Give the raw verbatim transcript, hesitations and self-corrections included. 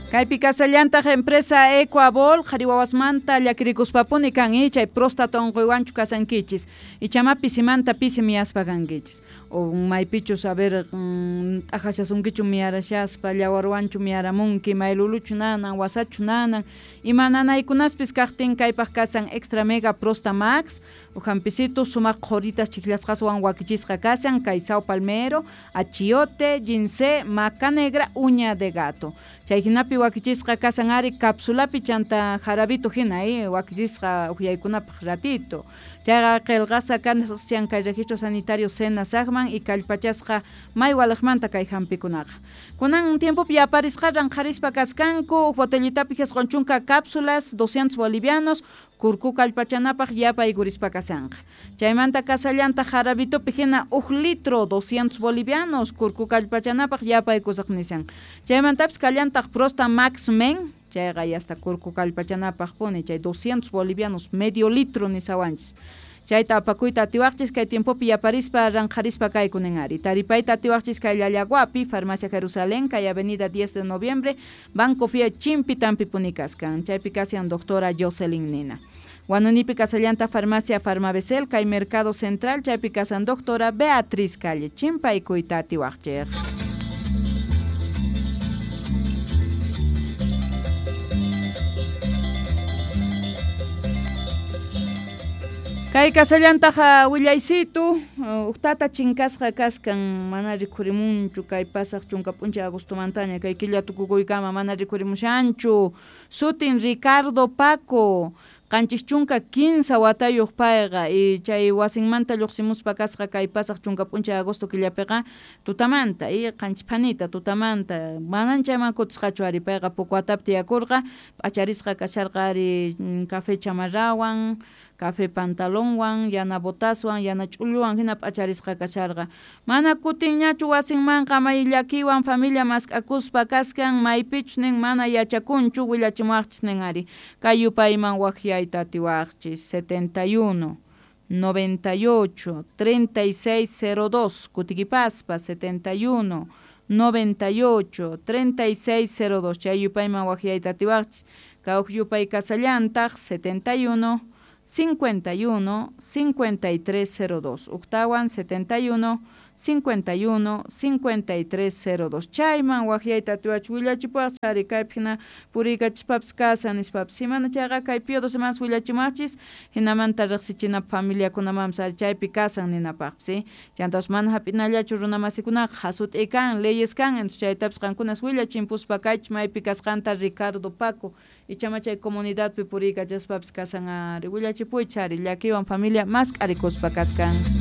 Kaypi kasallantaq empresa Ecuabol qhari wawasmanta llakirikuspapuni kan chay próstata unquywanchu kasankichis ichama pisimanta pisi miyaspa kankichis o maypichus a ver t'aqashasunkichu miyarashaspa llawarwanchu miyaramunki mayluluchu nanan wasachu nanan ima nanaykunaspis kaqtin kaypaq kasan Extra Mega Prosta Max ujampisitu sumaq qhuritas chiklasqaswan wakichisqa kasan kay saw palmero, achiote, ginseng, maca negra, uña de gato. Chay hinapi wakichisqa kasan ari capsulapi chanta jarabito hina eh, wakichisqa uhyaykunapaq ratito. Chayqa qillqasqa kashan kay registro sanitario SENASACman y kallpachasqa may waliqmanta kay hampikunaqa. Kunan tiempopi yaparisqa ranqharispa kaskanku botellitapi jisqun chunka cápsulas doscientos bolivianos kurku kallpachanapaq yapaykurispa kasanqa. Chaymanta kasallanta jarabitopi hina huk litro doscientos bolivianos kurku kallpachanapaq yapaykusaq nisan. Chaymantapis kallantaq Prosta Max Men chayqa hasta kurku kallpachanapaq puni chay doscientos bolivianos medio litro nisawanchis. Chayta apakuyta atiwaqchis kay tiempopi yaparispa ranqharispa kaykunin ari. Taripayta atiwaqchis kay Llallaguapi, Farmacia Jerusalén, kay Avenida diez de Noviembre, Banco Fia Chimpi Tampi puni kaskan. Chaypi kasian doctora Jocelyn Nina. Huanunipi kasallanta Farmacia Farmabesel, kay Mercado Central, chaypi kasan doctora Beatriz Calle, chimpaykuyta atiwaqchik. Kay kasallantaqa willaysitu, uqtata chinkasqa kaskan mana rikhurimunchu kay pasaq chunka p'unchay agostomantaña kay killa tukukuykama mana rikhurimushanchu. Sutin Ricardo Paco, qanchis chunka kinsa watayuq payqa y chay wasinmanta lluqsimuspa kasqa kay pasaq chunka p'unchay agosto killapiqa tutamanta y qanchis phanita tutamanta manan chayman kutisqachu ari payqa Pucuatapi tiyakurqa p'acharisqa kasharqa ari café chamarrawan café pantalonwan, yana botaswan, yana ch'ulluwan hina p'acharisqa kasharqa. Mana kutinñachu wasinmanqa may llakiwan familia mask'akuspa kaskan maypichus nin mana yachakunchu willachimuwaqchis nin ari. Kay yupayman waqyayta atiwaqchis setenta y uno, noventa y ocho, treinta y seis cero dos, kutikipaspa setenta y uno, noventa y ocho, treinta y seis cero dos, chay yupayman waqyayta atiwaqchis. Kawq yupay kasallantaq setenta y uno, cincuenta y uno, cincuenta y tres cero dos, uqtawan setenta y uno, cincuenta y uno, cincuenta y tres cero dos. Chayman waqyayta atiwach willachipuwaq ari kaypi hina puriykachispapas kasan nispapas. Himana chayqa kay pio dos semanas willachimaqchis hinamanta riqsichinapaq familiakunamanpas ari chaypi kasan ninapaqpas, ¿sí? Chantapas mana hap'inallachu runamasikunaqa hasut'i kan, leyes kan, entonces chaytapas qankunas willachimpuspa kaychis maypi kasqanta Ricardo Paco ichama chay comunidadpi puriykachaspapas kasan ari willachipuychis ari llakiwan familia mask'arikuspa kaskan.